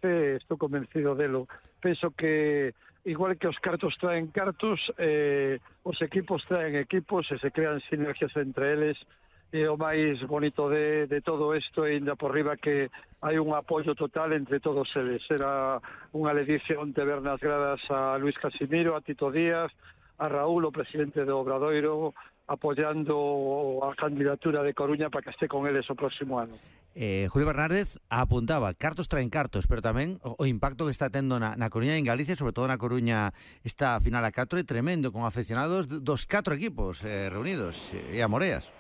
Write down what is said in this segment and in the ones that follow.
merece, estou convencido delo. Penso que igual que os cartos traen cartos, os equipos traen equipos e se crean sinergias entre eles. E o máis bonito de todo isto e ainda por riba que hai un apoio total entre todos eles. Era unha ledicia onte ver nas gradas a Luis Casimiro, a Tito Díaz, a Raúl, o presidente do Obradoiro, apoiando a candidatura de Coruña para que este con eles o próximo ano. Julio Bernárdez apuntaba, cartos traen cartos, pero tamén o impacto que está tendo na Coruña e en Galicia, sobre todo na Coruña, esta final a 4 é tremendo, con aficionados dos 4 equipos reunidos e a moreas.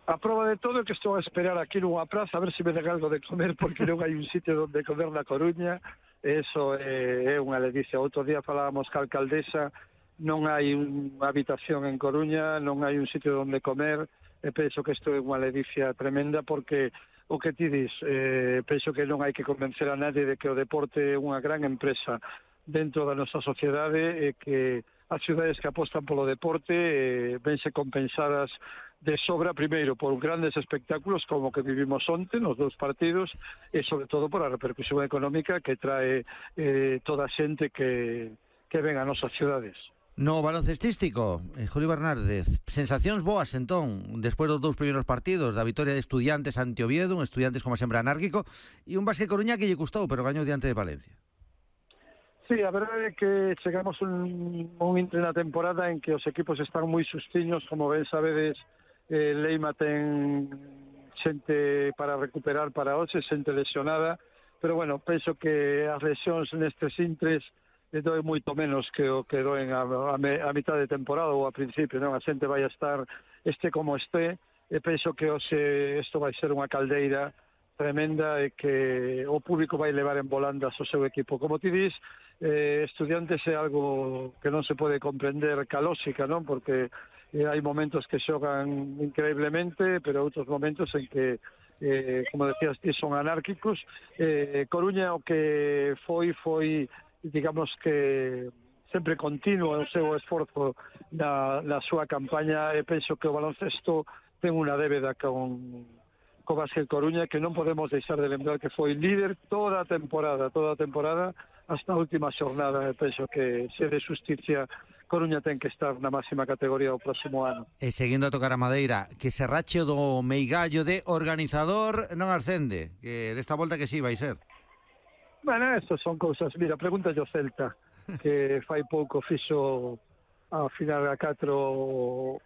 A prova de todo é que estou a esperar aquí nunha praza a ver se me den algo de comer, porque non hai un sitio onde comer na Coruña. Eso é unha ledicia. Outro día falábamos ca alcaldesa, non hai unha habitación en Coruña, non hai un sitio onde comer, e penso que isto é unha ledicia tremenda, porque o que ti dis, penso que non hai que convencer a nadie de que o deporte é unha gran empresa dentro da nosa sociedade e que as cidades que apostan polo deporte vense compensadas de sobra, primeiro, por grandes espectáculos como que vivimos onte nos dous partidos e, sobre todo, por a repercusión económica que trae toda a xente que ven a nosas cidades. No baloncestístico, Julio Bernárdez, sensacións boas entón, despois dos 2 primeiros partidos, da vitoria de Estudiantes ante Oviedo, un Estudiantes como sempre anárquico, e un Basque Coruña que lle custou, pero gañou diante de Valencia. Sí, a verdade é que chegamos un intre na temporada en que os equipos están moi sustiños, como ben sabedes. Leima ten xente para recuperar para hoxe, xente lesionada, pero bueno, penso que as lesións nestes intres doen moito menos que o que doen a mitad de temporada ou a principio, non? A xente vai a estar como este, e penso que hoxe isto vai ser unha caldeira tremenda e que o público vai levar en volandas o seu equipo. Como ti dis, Estudiantes é algo que non se pode comprender ca lógica, non? Porque hai momentos que xogan increíblemente, pero outros momentos en que, como decías ti, son anárquicos. Coruña o que foi, digamos que sempre continuo o seu esforzo na súa campaña, e penso que o baloncesto ten unha débeda con Basque Coruña que non podemos deixar de lembrar que foi líder toda a temporada hasta a última xornada. Penso que se de xusticia Coruña ten que estar na máxima categoría o próximo ano. E seguindo a tocar a madeira, que se rache o do meigallo de organizador non ascende, que desta volta que sí vai ser. Bueno, estas son cousas, mira, pregúntalle o Celta, que fai pouco fixo a final a 4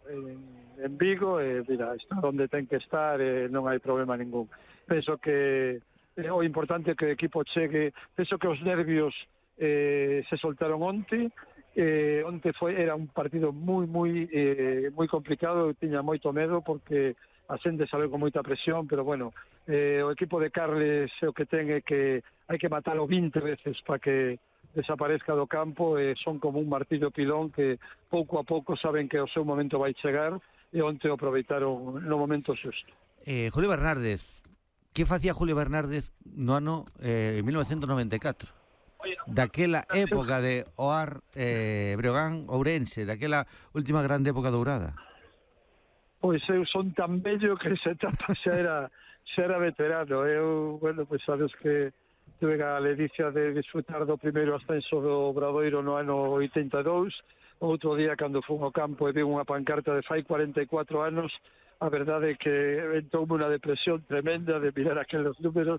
en Vigo, e mira, está onde ten que estar, non hai problema ningún. Penso que o importante é que o equipo chegue, penso que os nervios se soltaron onte. Onte era un partido moi complicado, eu tiña moito medo porque a xente sabe con moita presión, pero bueno, o equipo de Carles o que ten é que hai que matalo 20 veces para que desaparezca do campo, e son como un martillo pilón que pouco a pouco saben que o seu momento vai chegar, e onte o aproveitaron no momento xusto. Julio Bernárdez, que facía Julio Bernárdez no ano 1994? Daquela época de Oar, Breogán, Ourense, daquela última grande época dourada? Pois eu son tan bello que esa etapa xa era veterano. Eu, bueno, pois sabes que tuve a ledicia de disfrutar do primeiro ascenso do Obradoiro no ano 82. Outro día, cando fun ao campo e vi unha pancarta de fai 44 anos, a verdade é que entoume unha depresión tremenda de mirar aqueles números.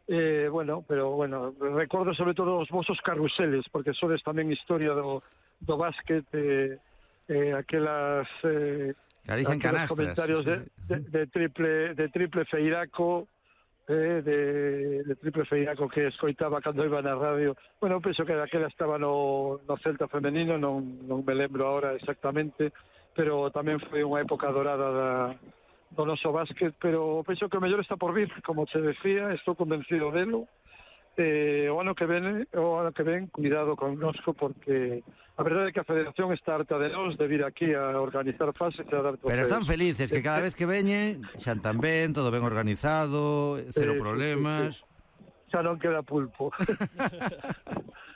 Pero recordo sobre todo os vosos carruseles, porque sodes tamén historia do básquet, aquelas comentarios de triple feiraco, de triple feiraco que escoitaba cando iba na radio. Bueno, penso que daquela estaba no Celta femenino, non me lembro ahora exactamente, pero tamén foi unha época dorada do noso básquet, pero penso que o mellor está por vir, como te decía, estou convencido delo. O ano que ven, cuidado connosco, porque a verdade é que a Federación está harta de nós, de vir aquí a organizar fases e a dar trofeos. Pero están felices, que cada vez que veñen xan tan ben, todo ben organizado, cero problemas. Xa non queda pulpo.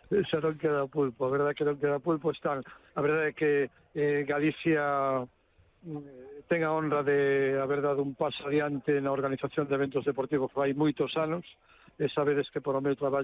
Xa non queda pulpo, a verdade é que non queda pulpo. A verdade é que Galicia ten a honra de haber dado un paso adiante na organización de eventos deportivos fai moitos anos, e sabedes que por o meu traballo